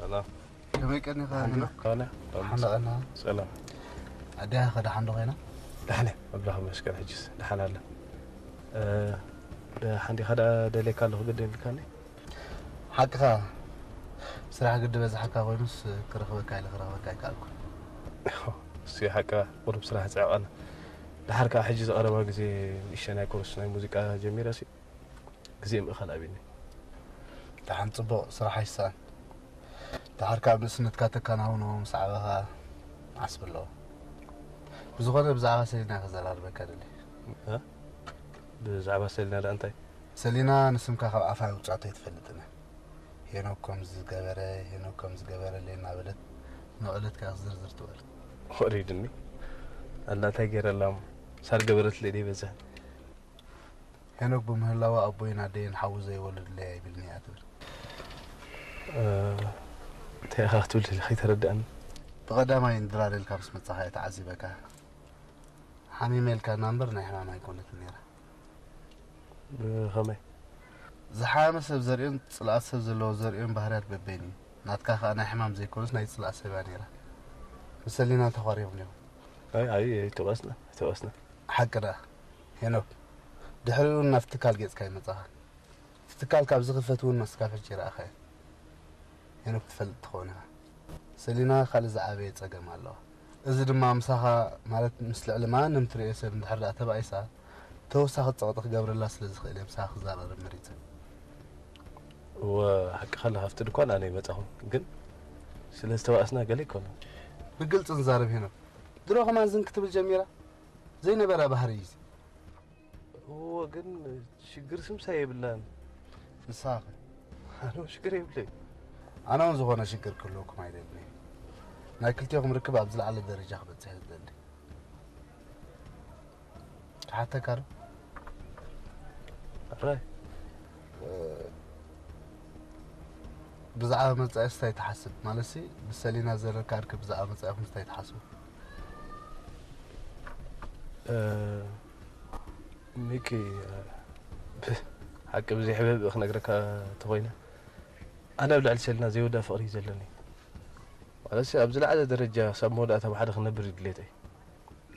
ሰላም። ከመይ ቀኒኻ ሄኖክ? ኮነ ደሓን ቀና። ሰላም። ኣዲኻ ከ ደሓን ዶ ኮይና? ደሓነ ኣምላኽ ይመስገን። ሕጅስ ደሓን ኣለ። ሓንዲኻ ደኣ ደልየካ ኣለኹ ግዲ ኢልካኒ። ሓቅኻ፣ ስራሕ ግዲ በዝሓካ ኮይኑስ ክረኽበካ ኢለ ክረኽበካ ኣይከኣልኩን። እሱ ሓቅኻ፣ ቁሩብ ስራሕ ጽዕቕ ኣለ። ደሓር ከኣ ሕጂ ዝቐረባ ግዜ ንእሸናይ ኮርስ ናይ ሙዚቃ ጀሚረሲ ግዜ ምእኻል ኣቢኒ። ደሓን ጽቡቕ፣ ስራሕ ኣይሰኣን። ደሓር ካብ ንእስነትካ ተከናውኖ ምስ ዓበኻ ዓስቢ ኣለዎ። ብዝኾነ ብዛዕባ ሰሊና ከዘራርበካ ደሊ። እ? ብዛዕባ ሰሊና ደኣ እንታይ? ሰሊና ንስምካ ካብ ኣፋ ውጻቶ ኣይትፈልጥን እያ። ሄኖክ ከም ዝገበረ፣ ሄኖክ ከም ዝገበረለይ እናበለት ንዕለት ከኣ ዝርዝር ትበል። ወሪድኒ። ኣላ እንታይ ገይረላ እሞ? ሳር ገበረትለይ ደይ በዝሕ። ሄኖክ ብምህላዋ ኣቦይን ኣደይን ሓዊ ዘይወለዱለይ ኣይብልኒ እያ ትብል። እ፣ እንታይ ኢኻ ክትብል ደሊኻ? ኣይተረድኣኒ። ብቐዳማይ እንድራር ኢልካ ምስ መጻኻ እየ ተዓዚበካ። ሓሚመ ኢልካና እምበር ናይ ሕማም ኣይኮነትን ነይራ። ብኸመይ? ዝሓመ ሰብ ዘርእዮን ጽልኣት ሰብ ዘለዎ ዘርእዮን ባህርያት በበይኑ እዩ። ናትካ ከኣ ናይ ሕማም ዘይኮነስ ናይ ጽልኣት ሰብ እያ ነይራ። ምስ ሰሊና ተዃሪኹም ዲኹም? ኣይ፣ ኣይ፣ ኣይተባእስና፣ ኣይተባእስና። ሓቂ ደኣ ሄኖክ፣ ድሕሪኡ እውን ናብቲ ትካል ገጽካ ይመጻኻ። እቲ ትካል ካብ ዝኽፈት እውን እስካብ ሕጂ ይረኣኻዮ። ሄኖክ ትፈልጥ ትኸውን ኢኻ። ሰሊና ካልእ ዝዓበየ ጸገም ኣለዋ። እዚ ድማ ምሳኻ፣ ማለት ምስ ልዕሊ ማንም ትርእዮ ሰብ እንድሕር ደኣ ተባኢሳ፣ ተወሳኺ ጸቕጢ ክገብረላ ስለ ዝኽእል እየ ምሳኻ ክዘራረብ መሪጸ። እወ፣ ሓቅኻ ኣለኻ፣ ኣብቲ ድኳን ኣነ ይመጻኹ፣ ግን ስለ ዝተባእስና ገለ ኣይኮነን። ብግልጺ ንዛረብ ሄኖክ። ድሮ ከማን ዝን ክትብል ጀሚራ? ዘይነበራ ባህሪ እዩ እዚ። እወ፣ ግን ሽግር ስምሳ የብላን። ንስኻ ከ? ኣነ ሽግር የብለይ። ኣነ እውን ዝኾነ ሽግር ክህልወኩም ኣይደልን እየ። ናይ ክልቲኹም ርክብ ኣብ ዝለዓለ ደረጃ ክበጽሕ እየ ዝደሊ። ክሓተካ ዶ? ኣራይ። ብዛዕባ መጻኢስ እንታይ ትሓስብ? ማለትሲ ብሰሊና ዘለካ ርክብ ብዛዕባ መጻኢኹም እንታይ ትሓስቡ? እ፣ ሚኪ፣ እ፣ ሓቂ ብዘይ ሕብህብእ ክነግረካ እንተኾይነ፣ ኣነ ኣብ ልዕሊ ሰሊና ዘይወዳ ፍቕሪ እዩ ዘለኒ። ማለትሲ ኣብ ዝለዓለ ደረጃ ክሳብ መወዳእታ ብሓደ ክነብር እዩ ድሌተይ።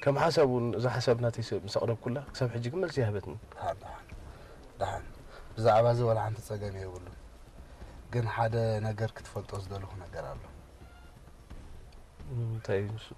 ከም ሓሳብ እውን እዛ ሓሳብ ናተይ ስ-፣ ምስ ኣቕረብኩላ ክሳብ ሕጂ ግን መልሲ ይሃበትኒ። ደሓን፣ ደሓን፣ ደሓን። ብዛዕባ እዚ ዋላ ሓንቲ ጸገም የብሉን። ግን ሓደ ነገር ክትፈልጦ ዝደለኹ ነገር ኣሎ። እንታይ እዩ ንሱ?